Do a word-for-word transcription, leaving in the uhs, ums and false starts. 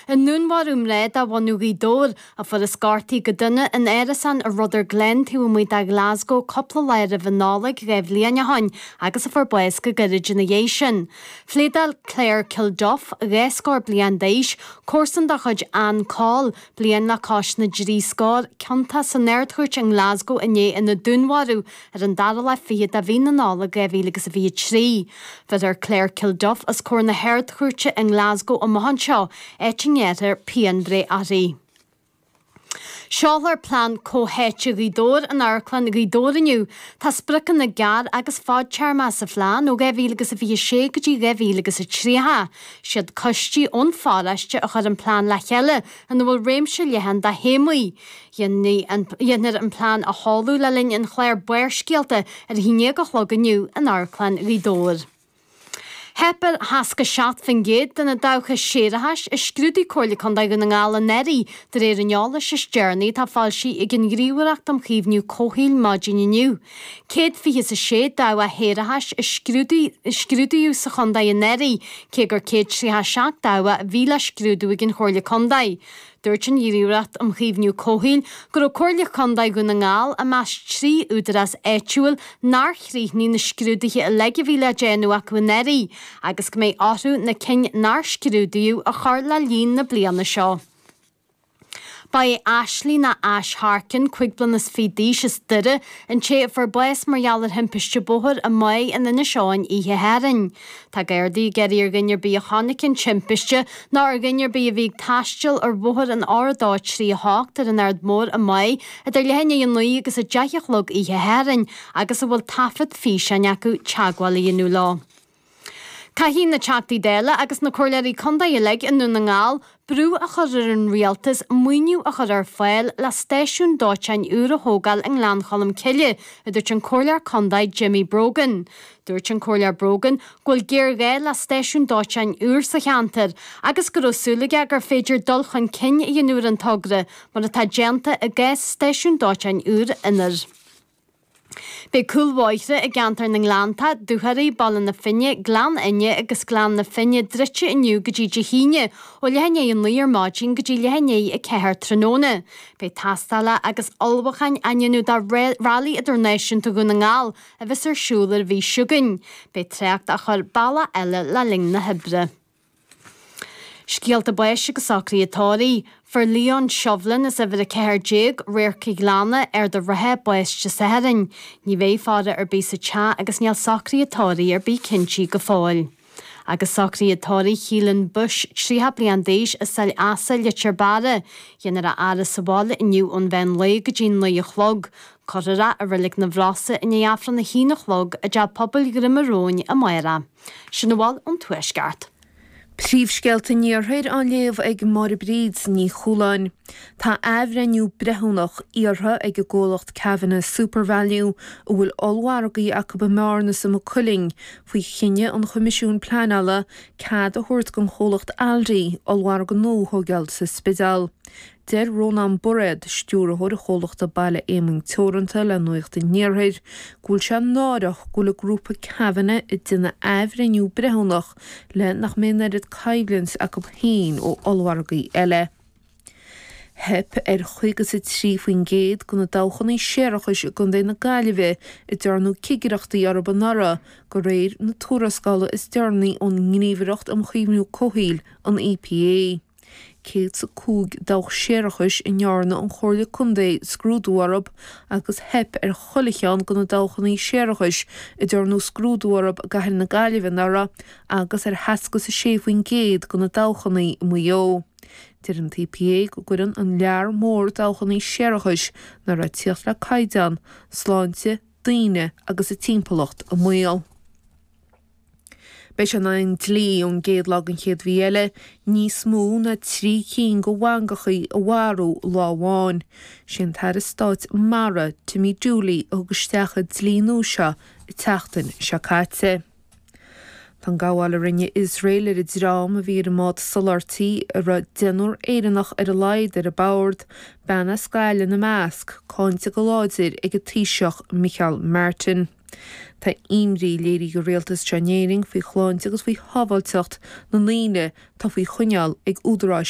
I ndúnmharú mná de bhunadh Ghaoth Dobhair, a fuarthas gortaithe go dona in árasán i Rutherglen taobh amuigh de Ghlasgow cúpla lá roimh an Nollaig dhá bhliain ó shin agus a fuair bás go gairid ina dhiaidh sin. Phléadáil Claire Kilduff, dhá scór bliain d'aois, comharsan de chuid Ann Coll, bliain le cois na dtrí scór, ciontach san Ard-Chúirt i nGlasgow inné ina dúnmharú ar an dara lá fichead de mhí na Nollag dhá mhíle agus a fiche trí. Bheirfear Claire Kilduff os comhair na hArd-Chúirte i nGlasgow amach anseo, áit a ngearrfar pianbhreith uirthi. Seolfar Plean Comhtháite Ghaoth Dobhair in Amharclann Ghaoth Dobhair inniu. Tá spriocanna gearr agus fadtéarma sa phlean ó dhá mhíle agus a fiche sé go dtí dhá mhíle agus a tríocha. Siad coistí ón pharóiste a chuir an plean le chéile ina bhfuil réimse leathan de théamaí. Dhéanfar an plean a sheoladh le linn an chláir Barrscéalta ar a haon déag a chlog inniu in Amharclann Ghaoth Dobhair. Theip ar sheasca seacht faoin gcéad de na dabhcha séarachais a scrúdaigh Comhairle Contae Dhún na nGall anuraidh, de réir an eolais is deireanaí atá foilsithe ag an nGníomhaireacht um Chaomhnú Comhshaoil maidin inniu. Céad fiche is a sé dabhach shéarachais a scrúdaíodh sa chontae anuraidh, cé gur céad tríocha seacht dabhach a bhí le scrúdú ag an Chomhairle Contae. Dúirt an Ghníomhaireacht um Chaomhnú Comhshaoil go raibh Comhairle Contae Dhún na nGall i measc trí údarás áitiúil nár chríochnaigh na scrúduithe uilig a bhí le déanamh acu anuraidh agus go mbeidh orthu na cinn nár scrúdaíodh a chur le linn na bliana seo. Ba é Ashley nó Ash Harkin, cúig bliana is fiche d'aois as Doire, an té a fuair bás mar gheall ar thimpiste bóthair i Maigh in Inis Eoghain oíche Shathairn. Tá Gardaí ag iarraidh ar dhuine ar bith a chonaic an timpiste nó ar dhuine ar bith a bhí ag taisteal ar bhóthar an R a dó trí a hocht ar an Aird Mhór i Maigh idir leath i ndiaidh a naoi agus a deich a chlog oíche Shathairn agus a bhfuil taifead físeáin acu teagmháil a dhéanamh leo. Caithfidh na Teachtaí Dála agus na Comhairleoirí Contae uilig i nDún na nGall brú a chur ar an rialtas maoiniú a chur ar fáil le stáisiún dóiteáin úr a thógáil i nGleann Cholm Cille, a dúirt an Comhairleoir Contae Jimmy Brogan. Dúirt an Comhairleoir Brogan go bhfuil géarghá le stáisiún dóiteáin úr sa cheantar agus go raibh súil aige gur féidir dul chun cinn a dhéanamh ar an togra mar atá déanta i gcás stáisiún dóiteáin úr Inbhir. Beidh cúlbhóithre i gceantar na nGleannta, Dúchoraidh, Baile na Finne, Gleann Fhinne agus Gleann na Finne druidte inniu go dtí Dé hAoine ó leath i ndiaidh a naoi ar maidin go dtí leath i ndiaidh a ceathair tráthnóna. Beidh tástála agus ullmhúcháin á ndéanamh do Rally Idirnáisiúnta Dhún na nGall a bheas ar siúl ar an mhí seo chugainn. Beidh trácht á chur bealach eile le linn na hoibre. Scéalta báis agus socruithe tórraimh. Fuair Leon Shovlin as uimhir a ceathair déag, Radharc an Ghleanna, Ard an Rátha, bás Dé Sathairn. Ní bheidh faire ar bith sa teach agus níl socruithe tórraimh ar bith cinntí go fóill. Agus socruithe tórraimh Keelan Bush, tríocha bliain d'aois, as Sail Easa, Leitir Beara. Dhéanfar a fhaire sa bhaile inniu ón mheán lae go dtí naoi a chlog. Cuirfear é i Reilig na bhFrosa i ndiaidh Aifreann a haon a chlog i dTeach Pobail Dhroim Róin amárach. Sin a bhfuil ón Tuaisceart. Príomhscéalta an Iarthair á léamh ag Máire Bríd Ní Chualáin. Tá athbhreithniú breithiúnach iarrtha ag an gcomhlacht Kavanagh SuperValu, a bhfuil ollmhargaí acu i mBearna is i Maigh Cuilinn, faoi chinneadh an Choimisiúin Pleanála cead a thabhairt don chomhlacht Aldi ollmhargadh nua a thógáil sa Spidéal. Deir Rónán Bairéad, stiúrthóir an chomhlachta Baile Éamainn Teoranta le Nuacht an Iarthair, go bhfuil sé náireach go bhfuil an grúpa Kavanagh ag déanamh athbhreithniú breithiúnach le nach mbeidh an oiread coimhlint acu féin ó ollmhargaí eile. Theip ar chaoga is a trí faoin gcéad de na dabhchanna séarachais i gContae na Gaillimhe a ndearnadh cigireachtaí orthu anuraidh, de réir na tuarascála is deireanaí ón nGníomhaireacht um Chaomhnú Comhshaoil, an E P A. Céad is a cúig dabhach séarachais a ndearna an Chomhairle Contae scrúdú orthu agus theip ar chuile cheann de na dabhchanna séarachais a ndearnadh scrúdú orthu i gCathair na Gaillimhe anuraidh agus ar sheasca is a sé faoin gcéad de na dabhchanna i Maigh Eo. Deir an E P A go gcuireann an lear mór dabhchanna séarachais nach raibh ag tíocht le caighdeán, sláinte, daoine agus a timpeallacht i mbaol. Beidh sé in ann dlí ón gcéad lá den chéad mhí eile níos mó ná trí cinn de mhangachaí a mharú lá amháin. Sé an tAire Stáit Mara, Timmy Dooley, a thug isteach an dlí nua seo an tseachtain seo caite. Tá an gabháil a rinne Iosrael ar an dream a bhí ar an mbád soláthairtí a raibh deichniúr Éireannach ar a laghad ar a bord, bean as Gaillimh ina measc, cáinte go láidir ag an Taoiseach Micheál Martin. Tá imní léirithe ag rialtas anseo in Éirinn faoi shláinte agus faoi shábháilteacht na ndaoine atá faoi choinneáil ag údaráis